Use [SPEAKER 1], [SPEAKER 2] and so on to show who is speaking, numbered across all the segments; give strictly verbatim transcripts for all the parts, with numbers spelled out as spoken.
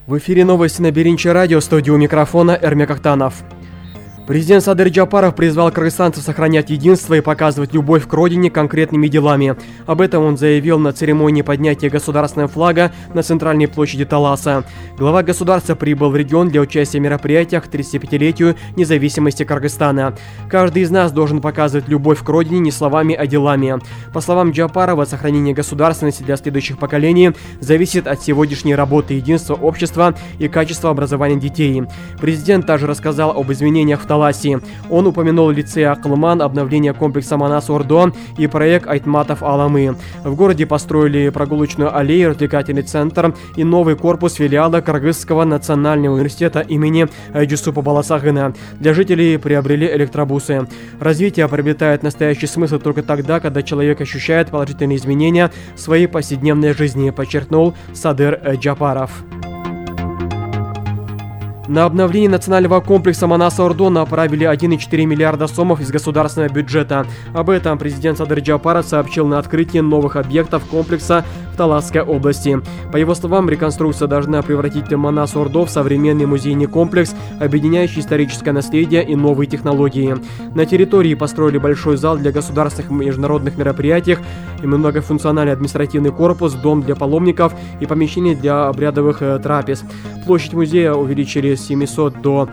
[SPEAKER 1] В эфире новости на Биринчи радио, студию микрофона Эрмек Ахтанов. Президент Садыр Джапаров призвал кыргызстанцев сохранять единство и показывать любовь к родине конкретными делами. Об этом он заявил на церемонии поднятия государственного флага на центральной площади Таласа. Глава государства прибыл в регион для участия в мероприятиях к тридцатипятилетию независимости Кыргызстана. Каждый из нас должен показывать любовь к родине не словами, а делами. По словам Джапарова, сохранение государственности для следующих поколений зависит от сегодняшней работы единства общества и качества образования детей. Президент также рассказал об изменениях в Таласе. Он упомянул лицей Акылман, обновление комплекса Манас-Ордо и проект Айтматов Аламы. В городе построили прогулочную аллею, развлекательный центр и новый корпус филиала Кыргызского национального университета имени Джусупа Баласагына. Для жителей приобрели электробусы. Развитие приобретает настоящий смысл только тогда, когда человек ощущает положительные изменения в своей повседневной жизни, подчеркнул Садыр Джапаров. На обновление национального комплекса Манас-Ордо направили один и четыре миллиарда сомов из государственного бюджета. Об этом президент Садыр Джапаров сообщил на открытии новых объектов комплекса в Таласской области. По его словам, реконструкция должна превратить Манас-Ордо в современный музейный комплекс, объединяющий историческое наследие и новые технологии. На территории построили большой зал для государственных и международных мероприятий, и многофункциональный административный корпус, дом для паломников и помещение для обрядовых э, трапез. Площадь музея увеличили с семисот до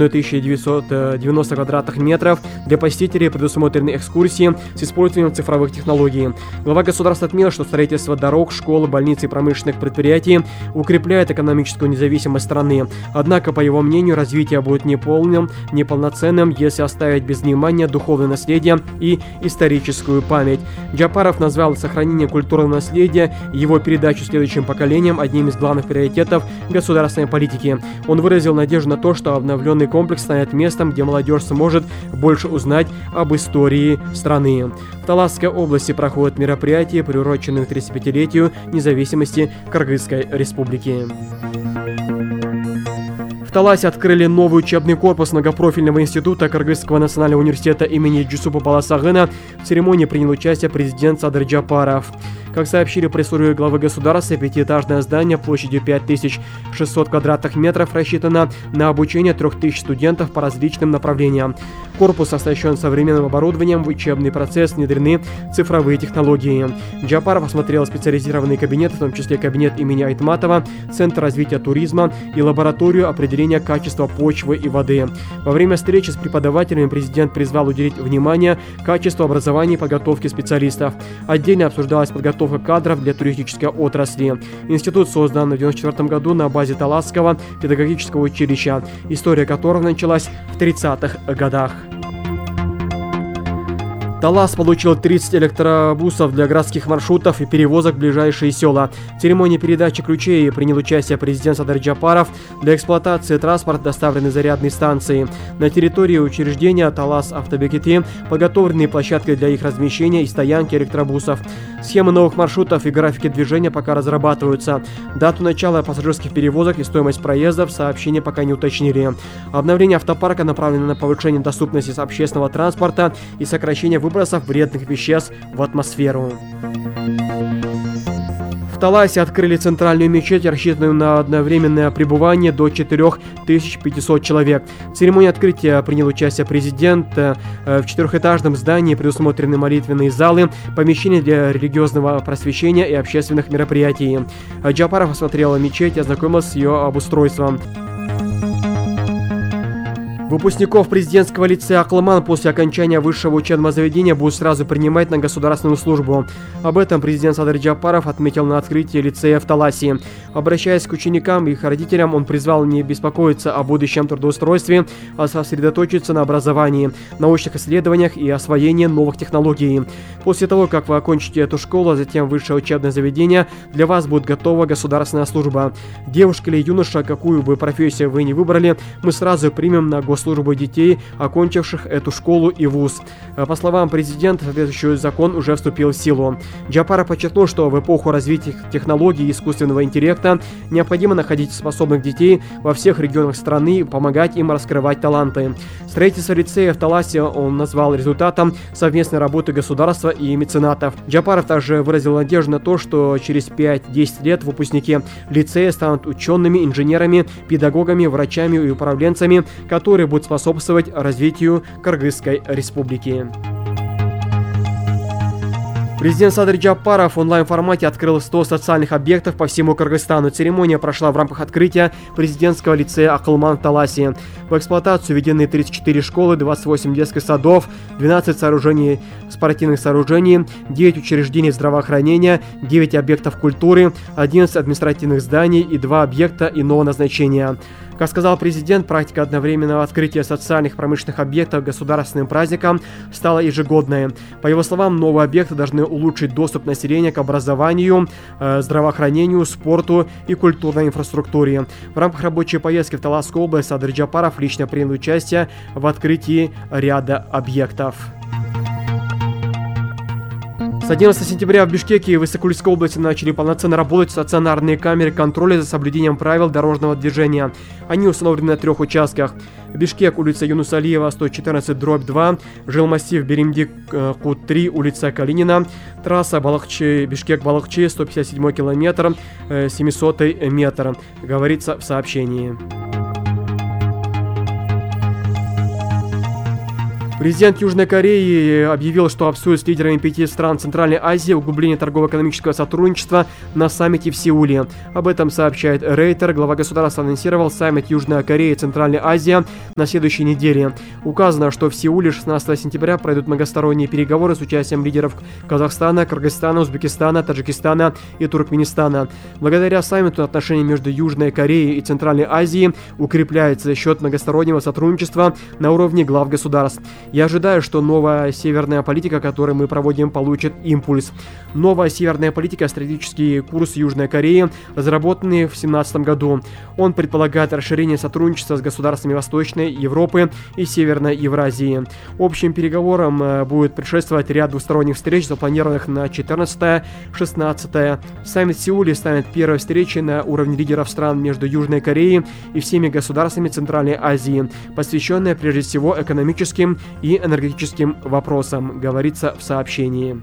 [SPEAKER 1] тысячи девятисот девяноста квадратных метров. Для посетителей предусмотрены экскурсии с использованием цифровых технологий. Глава государства отметил, что строительство дорог, школ, больниц и промышленных предприятий укрепляет экономическую независимость страны. Однако, по его мнению, развитие будет неполным, неполноценным, если оставить без внимания духовное наследие и историческую память. Джапаров назвал сохранение культурного наследия и его передачу следующим поколениям одним из главных приоритетов государственной политики. Он выразил надежду на то, что обновленный комплекс станет местом, где молодежь сможет больше узнать об истории страны. В Таласской области проходят мероприятия, приуроченные к тридцатипятилетию независимости Кыргызской республики. В Таласе открыли новый учебный корпус многопрофильного института Кыргызского национального университета имени Джусупа Баласагына. В церемонии принял участие президент Садыр Джапаров. Как сообщили пресс-службе главы государства, пятиэтажное здание площадью пять тысяч шестьсот квадратных метров рассчитано на обучение трех тысяч студентов по различным направлениям. Корпус оснащен современным оборудованием, в учебный процесс внедрены цифровые технологии. Джапаров осмотрел специализированные кабинеты, в том числе кабинет имени Айтматова, Центр развития туризма и лабораторию определения качества почвы и воды. Во время встречи с преподавателями президент призвал уделить внимание качеству образования и подготовки специалистов. Отдельно обсуждалась подготовка кадров для туристической отрасли. Институт создан в девяносто четвёртом году на базе Таласского педагогического училища, история которого началась в тридцатых годах. Талас получил тридцать электробусов для городских маршрутов и перевозок в ближайшие села. В церемонии передачи ключей принял участие президент Садыр Джапаров. Для эксплуатации транспорта доставлены зарядные станции. На территории учреждения Талас Автобекети подготовлены площадки для их размещения и стоянки электробусов. Схемы новых маршрутов и графики движения пока разрабатываются. Дату начала пассажирских перевозок и стоимость проездов сообщения пока не уточнили. Обновление автопарка направлено на повышение доступности общественного транспорта и сокращение выбросов вредных веществ в атмосферу. В Таласе открыли центральную мечеть, рассчитанную на одновременное пребывание до четырёх тысяч пятисот человек. В церемонии открытия принял участие президент. В четырехэтажном здании предусмотрены молитвенные залы, помещения для религиозного просвещения и общественных мероприятий. Джапаров осмотрел мечеть и ознакомился с ее обустройством. Выпускников президентского лицея Акылман после окончания высшего учебного заведения будут сразу принимать на государственную службу. Об этом президент Садыр Джапаров отметил на открытии лицея в Таласе. Обращаясь к ученикам и их родителям, он призвал не беспокоиться о будущем трудоустройстве, а сосредоточиться на образовании, научных исследованиях и освоении новых технологий. После того, как вы окончите эту школу, а затем высшее учебное заведение, для вас будет готова государственная служба. Девушка или юноша, какую бы профессию вы ни выбрали, мы сразу примем на госслужбу. службы детей, окончивших эту школу и вуз. По словам президента, соответствующий закон уже вступил в силу. Джапаров подчеркнул, что в эпоху развития технологий и искусственного интеллекта необходимо находить способных детей во всех регионах страны и помогать им раскрывать таланты. Строительство лицея в Таласе он назвал результатом совместной работы государства и меценатов. Джапаров также выразил надежду на то, что через пять-десять лет выпускники лицея станут учеными, инженерами, педагогами, врачами и управленцами, которые будут способствовать развитию Кыргызской республики. Президент Садыр Джапаров в онлайн-формате открыл сто социальных объектов по всему Кыргызстану. Церемония прошла в рамках открытия президентского лицея Акылман в Таласе. В эксплуатацию введены тридцать четыре школы, двадцать восемь детских садов, двенадцать сооружений спортивных сооружений, девять учреждений здравоохранения, девять объектов культуры, одиннадцать административных зданий и два объекта иного назначения. Как сказал президент, практика одновременного открытия социальных промышленных объектов государственным праздником стала ежегодной. По его словам, новые объекты должны улучшить доступ населения к образованию, э, здравоохранению, спорту и культурной инфраструктуре. В рамках рабочей поездки в Таласскую область Садыр Джапаров лично принял участие в открытии ряда объектов. С одиннадцатого сентября в Бишкеке и Высокулийской области начали полноценно работать стационарные камеры контроля за соблюдением правил дорожного движения. Они установлены на трех участках. Бишкек, улица Юнуса Алиева, сто четырнадцать дробь два, жилмассив Беримдик-Кут три, улица Калинина, трасса Балахчи, Бишкек-Балахчи, сто пятьдесят седьмой километр, семисотый метр, говорится в сообщении. Президент Южной Кореи объявил, что обсудит с лидерами пяти стран Центральной Азии углубление торгово-экономического сотрудничества на саммите в Сеуле. Об этом сообщает Рейтер. Глава государства анонсировал саммит Южная Корея и Центральная Азия на следующей неделе. Указано, что в Сеуле шестнадцатого сентября пройдут многосторонние переговоры с участием лидеров Казахстана, Кыргызстана, Узбекистана, Таджикистана и Туркменистана. Благодаря саммиту отношения между Южной Кореей и Центральной Азией укрепляются за счет многостороннего сотрудничества на уровне глав государств. Я ожидаю, что новая северная политика, которую мы проводим, получит импульс. Новая северная политика – стратегический курс Южной Кореи, разработанный в две тысячи семнадцатом году. Он предполагает расширение сотрудничества с государствами Восточной Европы и Северной Евразии. Общим переговорам будет предшествовать ряд двусторонних встреч, запланированных на четырнадцатое-шестнадцатое. Саммит в Сеуле станет первой встречей на уровне лидеров стран между Южной Кореей и всеми государствами Центральной Азии, посвященная прежде всего экономическим и энергетическим вопросам, говорится в сообщении.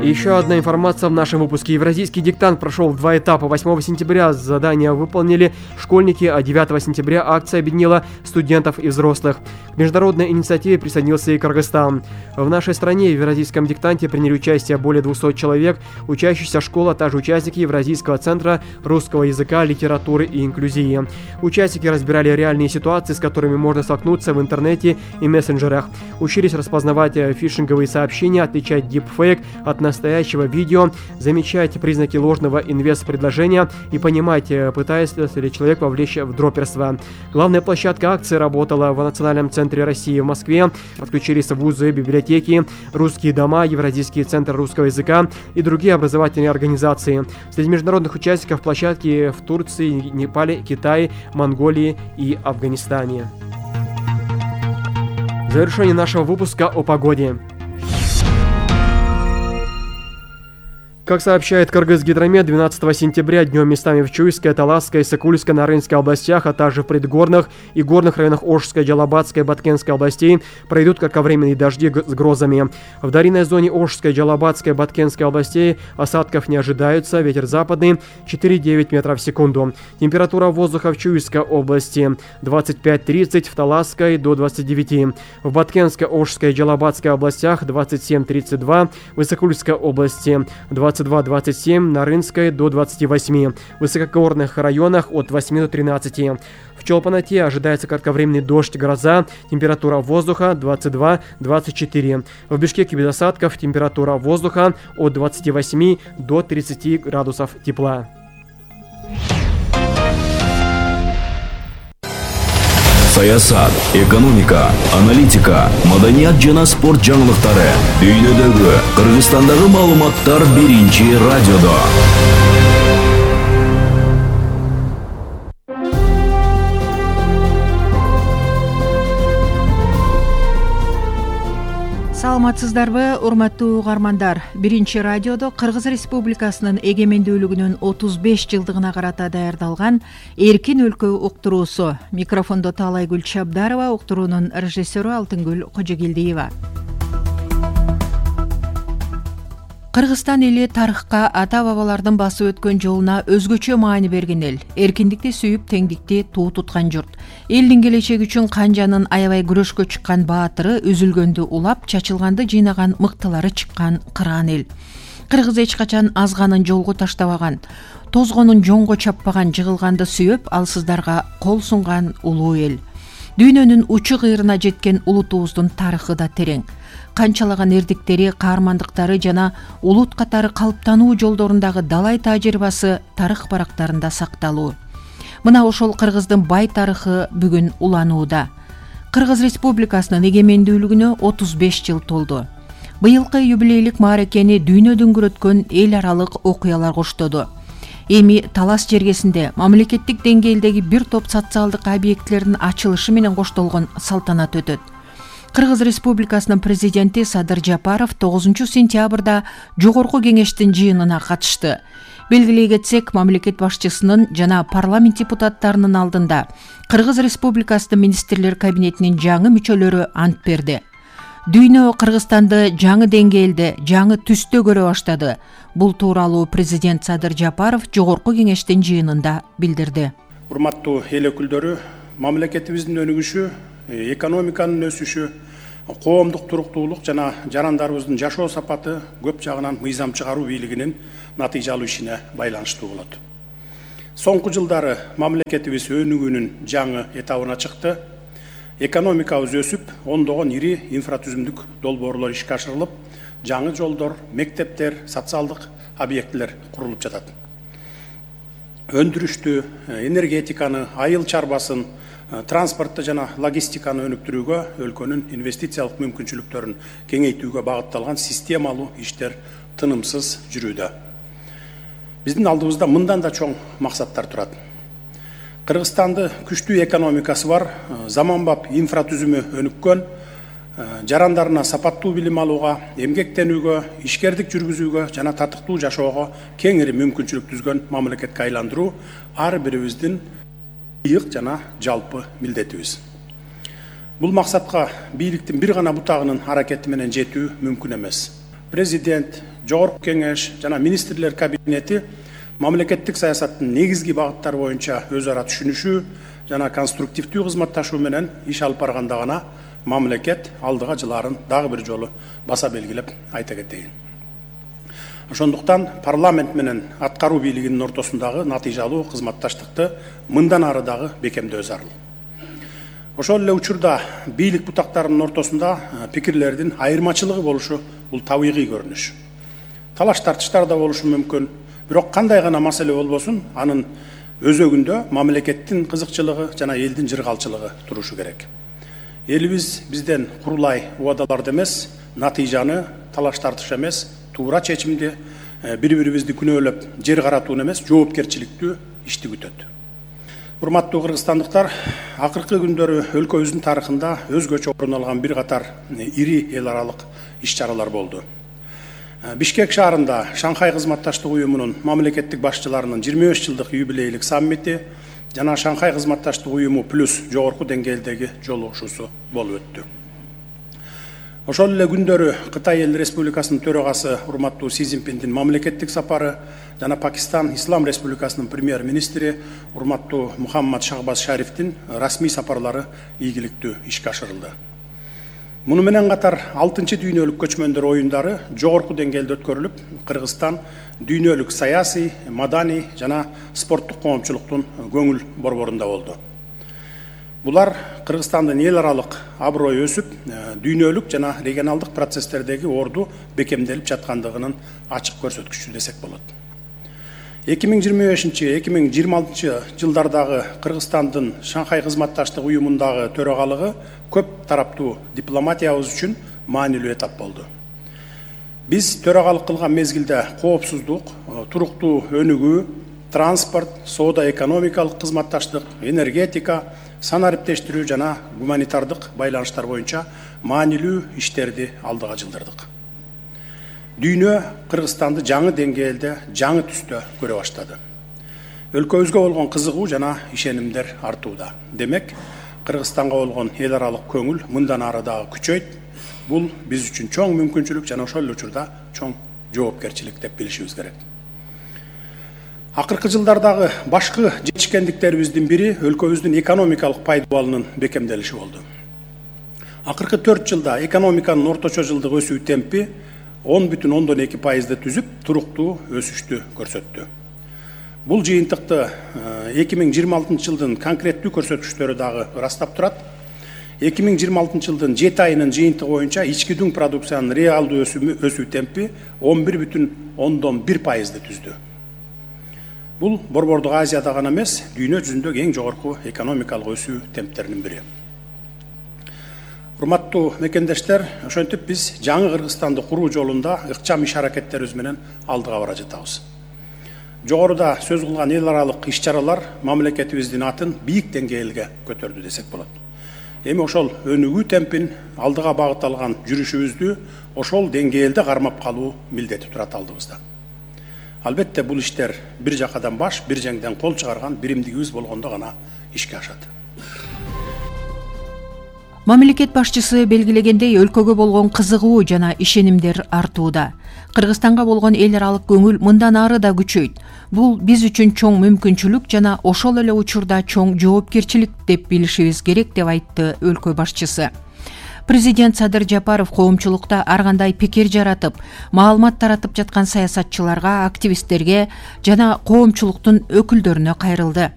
[SPEAKER 1] И еще одна информация в нашем выпуске. Евразийский диктант прошел в два этапа. восьмого сентября задания выполнили школьники, а девятого сентября акция объединила студентов и взрослых. К международной инициативе присоединился и Кыргызстан. В нашей стране в евразийском диктанте приняли участие более двухсот человек, учащиеся школы, а также участники Евразийского центра русского языка, литературы и инклюзии. Участники разбирали реальные ситуации, с которыми можно столкнуться в интернете и мессенджерах. Учились распознавать фишинговые сообщения, отличать дипфейк от настоящего видео, замечать признаки ложного инвест-предложения и понимать, пытается ли человек вовлечь в дроперство. Главная площадка акции работала в Национальном центре России в Москве. Подключились вузы, библиотеки, русские дома, Евразийский центр русского языка и другие образовательные организации. Среди международных участников площадки в Турции, Непале, Китае, Монголии и Афганистане. Завершение нашего выпуска о погоде. Как сообщает Кыргызгидромет, двенадцатого сентября днем местами в Чуйской, Таласской, Сокульской, Нарынской областях, а также в предгорных и горных районах Ошской, Джалабатской, Баткенской областей пройдут кратковременные дожди с грозами. В долинной зоне Ошской, Джалабатской, Баткенской областей осадков не ожидаются, ветер западный четыре-девять метров в секунду. Температура воздуха в Чуйской области двадцать пять тридцать, в Таласской до двадцати девяти, в Баткенской, Ошской, Джалабатской областях двадцать семь тридцать два, в Высокульской области двадцать два двадцать семь, на Рынской до двадцати восьми, в высокогорных районах от восьми до тринадцати. В Чолпанате ожидается кратковременный дождь, гроза, температура воздуха двадцать два двадцать четыре. В Бишкеке без осадков, температура воздуха от двадцати восьми до тридцати градусов тепла.
[SPEAKER 2] Саясат, экономика, аналитика, маданият жана спорт жаңылыктары. Дүйнөдөгү, Кыргызстандагы маалыматтар биринчи радиодо.
[SPEAKER 3] саламатсыздарбы, урматтуу угармандар? Биринчи радиодо Кыргыз Республикасынын эгемендүүлүгүнүн отуз беш жылдыгына карата даярдалган Эркин өлкө уктуруусу. Микрофондо Таалайгүл Чабдарова, уктуруунун режиссеру Алтынгүл Кожогелдиева. Кыргызстан эли тарыхка ата-бабалардын басып өткөн жолуна өзгөчө маани берген эл. Эркиндикти сүйүп, теңдикти туу туткан журт. Элдин келечеги үчүн канжанын аябай күрөшкө чыккан баатыры, үзүлгөндү улап, чачылганды жыйнаган мыктылары чыккан кыраан эл. Кыргыз эч качан азганын жолго таштабаган, тозгонун жоңго чаппаган, жыгылганды сүйөп, алсыздарга кол сунган улуу эл. Дүйнөнүн учу кыйрына жеткен улутубуздун тарыхы да терең. Канчалаган эрдиктери, каармандыктары жана улут катары калыптануу жолдорундагы далай тажрыйбасы тарых барактарында сакталуу. Мына ошол кыргыздын бай тарыхы бүгүн уланууда. Кыргыз Республикасынын эгемендүүлүгүнө отуз беш жыл толду. Быйылкы юбилейлик мааракени дүйнө дүңгүрөткөн эл аралык окуялар коштоду. Эми талас жергесинде мамлекеттик деңгээлдеги бир топ социалдык объектилердин ачылышы менен коштолгон салтанат өтөт. Кыргыз Республикасынын президенти Садыр Жапаров тогузунчу сентябрда Жогорку кеңештин жыйынына катышты. Белгилей кетсек, мамлекет башчысынын жана парламент депутаттарынын алдында Кыргыз Республикасынын министрлер кабинетинин жаңы мүчөлөрү ант берди. Дүйнө Кыргызстанды жаңы деңгээлде, жаңы түстө көрө баштады. Бул тууралуу президент Садыр Жапаров Жогорку кеңештин жыйынында билдирди.
[SPEAKER 4] Урматтуу эл өкүлдөрү, мамлекетибиздин өнүгүшү, экономиканын өсүшү, коомдук туруктуулук жана жарандарыбыздын жашоо сапаты көп жагынан мыйзам чыгаруу бийлигинин натыйжалуу ишине байланыштуу болот. Соңку жылдары мамлекетибиз өнүгүүнүн жаңы этабына чыкты. Экономикабыз өсүп, ондогон ири инфратүзүмдүк долбоорлор ишке ашырылып, жаңы жолдор, мектептер, социалдык объектилер курулуп жатат. Өндүрүштү, энергетиканы, айыл чарбасын, транспортты жана логистиканы өнүктүрүүгө, өлкөнүн инвестициялык мүмкүнчүлүктөрүн кеңейтүүгө багытталган системалуу иштер тынымсыз жүрүүдө. Биздин алдыбызда мындан да чоң максаттар турат. Кыргызстанды күчтүү экономикасы бар, заманбап инфратүзүмү өнүккөн, жарандарына сапаттуу билим алууга, эмгектенүүгө, ишкердик жүргүзүүгө жана татыктуу жашоого кеңири мүмкүнчүлүк түзгөн мамлекетке айландыруу ар бирибиздин ыйык жана жалпы милдетибиз. Бул максатка бийликтин бир гана бутагынын аракети менен жетүү мүмкүн эмес. Президент, Жогорку кеңеш жана министрлер кабинети мамлекеттик саясаттын негизги багыттары боюнча өз ара түшүнүшүү жана конструктивдүү кызматташуу менен иш алып барганда гана мамлекет алдыга жылаарын дагы бир жолу баса белгилеп айта кетейин. Ошондуктан парламент менен аткаруу бийлигинин ортосундагы натыйжалуу кызматташтыкты мындан ары дагы бекемдөө зарыл. Ошол эле учурда бийлик бутактарынын ортосунда пикирлердин айырмачылыгы болушу бул табигый көрүнүш. Талаш тартыштар да болушу мүмкүн. Бирок кандай гана маселе болбосун, анын өзөгүндө мамлекеттин кызыкчылыгы жана элдин жыргалчылыгы турушу керек. Элибиз бизден курулай убадаларды эмес, натыйжаны, талаш тартыш эмес, туура чечимди, бири-бирибизди күнөөлөп, жер каратууну эмес, жоопкерчиликтүү ишти күтөт. Урматтуу кыргызстандыктар, акыркы күндөрү өлкөбүздүн тарыхында өзгөчө орун алган бир катар ири эл аралык иш-чаралар болду. Бишкек шаарында Шанхай кызматташтык уюмунун мамлекеттик башчыларынын жыйырма беш жылдык юбилейлик саммити жана Шанхай кызматташтык уюму плюс жогорку деңгээлдеги жолугушуусу болуп өттү. Ошол эле күндөрү Кытай Эл Республикасынын төрагасы урматтуу Си Цзиньпиндин мамлекеттик сапары жана Пакистан Ислам Республикасынын премьер-министри урматтуу Мухаммад Шахбаз Шарифтин расмий сапарлары ийгиликтүү ишке ашырылды. Муну менен катар алтынчы дүйнөлүк көчмөндөр оюндары жогорку деңгээлде өткөрүлүп, Кыргызстан дүйнөлүк саясий, маданий жана спорттук коомчулуктун көңүл борборунда болду. Булар Кыргызстандын эл аралык аброю өсүп, дүйнөлүк жана регионалдык процесстердеги орду бекемделип жаткандыгынын ачык көрсөткүчү десек болот. эки миң жыйырма бешинчи — эки миң жыйырма алтынчы жылдардагы Кыргызстандын Шанхай кызматташтык уюмундагы төрагалыгы көп тараптуу дипломатиябыз үчүн маанилүү этап болду. Биз төрагалык кылган мезгилде коопсуздук, туруктуу өнүгүү, транспорт, соода экономикалык кызматташтык, энергетика, сан ариптештирүү жана гуманитардык байланыштар боюнча маанилүү иштерди алдыга жылдырдык. Дүйнө Кыргызстанды жаңы деңгээлде, жаңы түстө көрө баштады. Өлкөбүзгө болгон кызыгуу жана ишенимдер артууда. Демек, Кыргызстанга болгон эл аралык көңүл мындан ары дагы күчөйт. Бул биз үчүн чоң мүмкүнчүлүк жана ошол эле учурда чоң жоопкерчилик деп билишибиз керек. Акыркы жылдардагы башкы жетишкендиктерибиздин бири өлкөбүздүн экономикалык пайдалануунун бекемделиши болду. Акыркы төрт жылда экономиканын орточо жылдык өсүү темпи он бүтүн ондон эки пайызды түзүп, туруктуу өсүштү көрсөттү. Бул жыйынтыкты эки миң жыйырма алтынчы жылдын конкреттүү көрсөткүчтөрү дагы ырастап турат. эки миң жыйырма алтынчы жылдын жети айынын жыйынтыгы боюнча ички дүң продукциянын реалдуу өсүү темпи он бир бүтүн ондон бир пайызды түздү. Бул Борбордук Азияда гана эмес, дүйнө жүзүндөгү эң жогорку экономикалык өсүү темптеринин бири. Урматтуу мекендештер, ошентип биз жаңы Кыргызстанды куруу жолунда ыкчам иш аракеттерибиз менен алдыга бара жатабыз. Жогоруда сөз кылган эл аралык иш-чаралар мамлекетибиздин атын бийик деңгээлге көтөрдү десек болот. Эми ошол өнүгүү темпин алдыга багытталган жүрүшүбүздү ошол деңгээлде кармап калуу милдети турат алдыбызда. Албетте бул иштер бир жакадан баш, бир жеңден кол чыгарган биримдигибиз болгондо гана ишке ашат.
[SPEAKER 3] Мамлекет башчысы белгилегендей, өлкөгө болгон кызыгуу жана ишенимдер артууда. Кыргызстанга болгон эл аралык көңүл мындан ары да күчөйт. Бул биз үчүн чоң мүмкүнчүлүк жана ошол эле учурда чоң жоопкерчилик деп билишибиз керек деп айтты өлкө башчысы. Президент Садыр Жапаров коомчулукта ар кандай пикир жаратып, маалымат таратып жаткан саясатчыларга, активисттерге жана коомчулуктун өкүлдөрүнө кайрылды.